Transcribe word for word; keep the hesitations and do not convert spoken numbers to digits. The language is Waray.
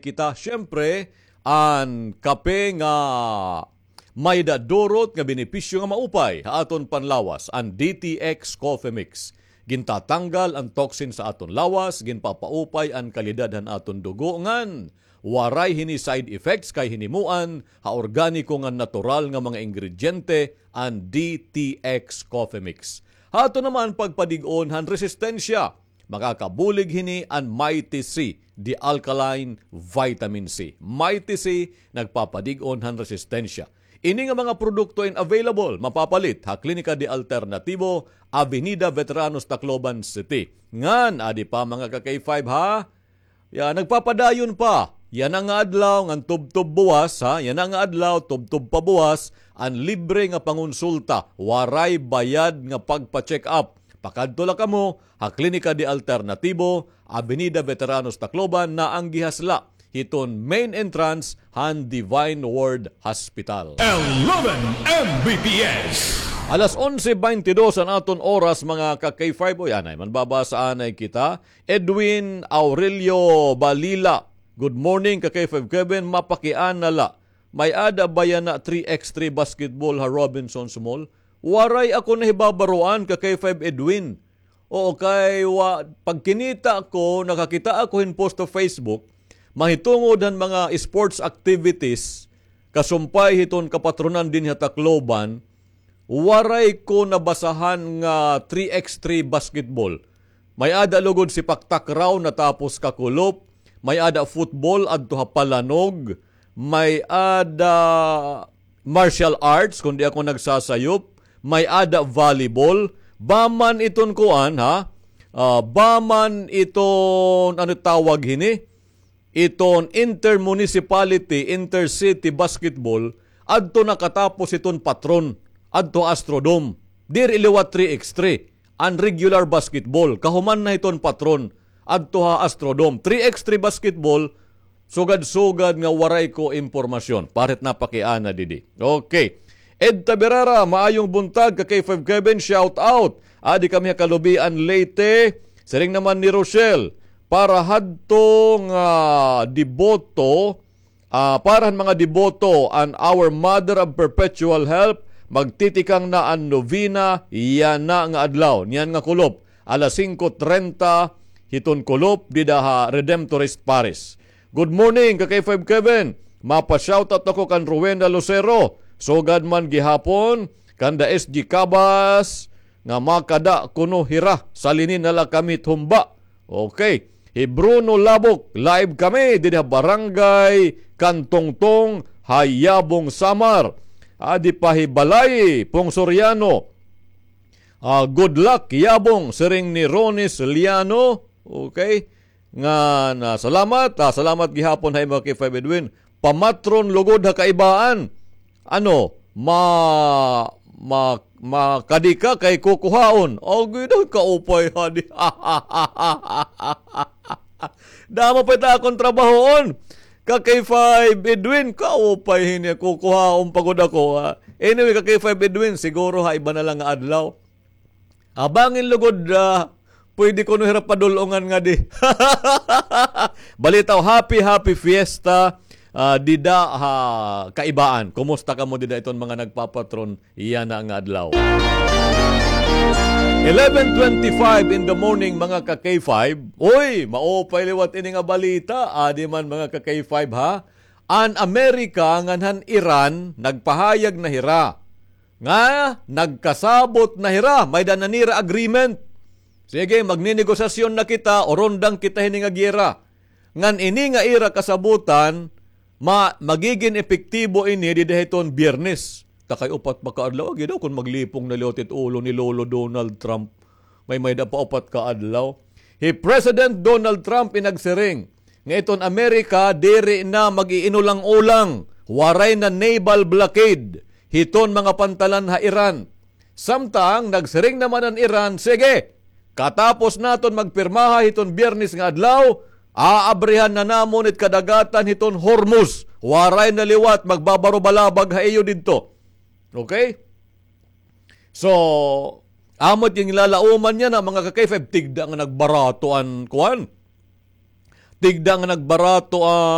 kita, siyempre, an kape nga may-ada durot nga benepisyo nga maupay ha aton panlawas, an D T X Coffee Mix. Gintatanggal an toxin sa aton lawas, ginpapaupay an kalidad han aton dugo, ngan waray hini side effects kay hinimuan ha organiko ngan natural nga mga ingrediente an D T X Coffee Mix. Ha aton naman pagpadig-on han resistensya, makakabulig hini an Mighty C, the alkaline vitamin C. Mighty C, nagpapadig-on han resistensya. Ini nga mga produkto in available, mapapalit ha Klinika de Alternativo, Avenida Veteranos, Tacloban City. Ngan, adi pa, mga ka-K five, ha? Ya, nagpapadayon pa. Yana nga adlaw, ngan tubtob buwas, ha? Yana nga adlaw, tubtob pa buwas, an libre nga pangonsulta, waray bayad nga pagpa-check up. Pakadto la kamo ha Klinika de Alternativo, Avenida Veteranos, Tacloban, naanggihas la hiton main entrance han Divine Word Hospital. Eleven M B P S. Alas onse beintidos an aton oras, mga ka-K five. Uy, anay man, babasa anay kita. Edwin Aurelio Balila. Good morning, ka-K five Kevin. Mapakiana la, may-ada ba yana three X three basketball ha Robinsons Mall? Waray ako nahibabaroan, ka-K five Edwin. Oo, kay wa, pagkinita ko, nakakita ako hin post ha Facebook, mahitungod han mga sports activities, kasumpay hiton kapatronan dinhi ha Tacloban, waray ko nabasahan nga three X three basketball. May-ada lugod sepak takraw natapos kakulop, may-ada football adto ha Palanog, may-ada martial arts, kon di ako nagsasayop, may-ada volleyball, ba man iton kuan, ha? Ah, ba man iton, ano tawag hini? Iton intermunicipality, intercity basketball, adto nakatapos iton patron, adto Astrodome. Diri liwat three X three, an regular basketball. Kahuman na hiton patron, adto ha Astrodome. Three X three basketball, sugad-sugad nga waray ko impormasyon. Parit napakiana didi. Okay. Ed Taberara, maayong buntag, ka-K five Kevin, shout out. Adi kami ha Kalubian, Leyte. Siring naman ni Rochelle, para hadto nga deboto, ah, para han mga deboto, an Our Mother of Perpetual Help, magtitikang na an novena yana nga adlaw, niyan nga kulop, alas singko trenta hiton kulop, dida ha Redemptorist Parish. Good morning, ka-K five Kevin. Mapa-shoutout ako kan Rowena Lucero. Sugad man gihapon, kanda S G Cabas, nga makada kuno hira, salini na la kami tumba. Okay. Hi Bruno Labok, live kami didi ha Barangay Kantungtong, ha Yabong, Samar. Adi pa hi Balay Pong Soriano. Ah, good luck, Yabong, siring ni Ronis Liano. Okay. Ngan, ah, salamat, ah, salamat gihapon ha imo, ka-K five Edwin. Pamatron lugod ha kaibaan. Ano, ma-, ma-, makadi ka kay kukuhaon. Agi daw, kaupay hadi. Damo pa it akon trabahoon. Ka-K five Edwin, kaupay hini, kukuhaon pa gud ako, ha. Anyway, ka-K five Edwin, siguro ha iba na la nga adlaw. Abangin lugod, ah, pwede kuno hira padul-ongan ngadi. Balitaw, happy, happy fiesta, ah, dida ha kaibaan. Kumusta kamo dida iton mga nagpapatron yana nga adlaw? Eleven twenty-five in the morning, mga ka-K five. Uy, maupay liwat ini nga balita. Adi man, mga ka-K five, ha? An Amerika ngan han Iran nagpahayag na hira nga nagkasabot na hira, may-ada na nira agreement. Sige, magninegosasyon na kita, urundang kita hini nga giyera. Ngan ini nga ira kasabotan, ma-, magigin epektibo ini dida hiton Biyernes. Takay upat pa ka adlaw, agi daw kon maglipong na liwat it ulo ni Lolo Donald Trump. May may-ada pa upat ka adlaw. Hi President Donald Trump in nagsiring nga iton Amerika diri na mag-iinulang-ulang, waray na naval blockade hiton mga pantalan ha Iran. Samtang nagsiring naman an Iran, sige, katapos naton magpirmaha hiton Biyernes nga adlaw, aabrihan na namon it kadagatan hiton Hormuz. Waray na liwat magbabarobalabag ha iyo didto. Okay? So, amo it ginlalauman niya na, mga ka-K five, tigda nga nagbarato an kuan. Tigda nga nagbarato an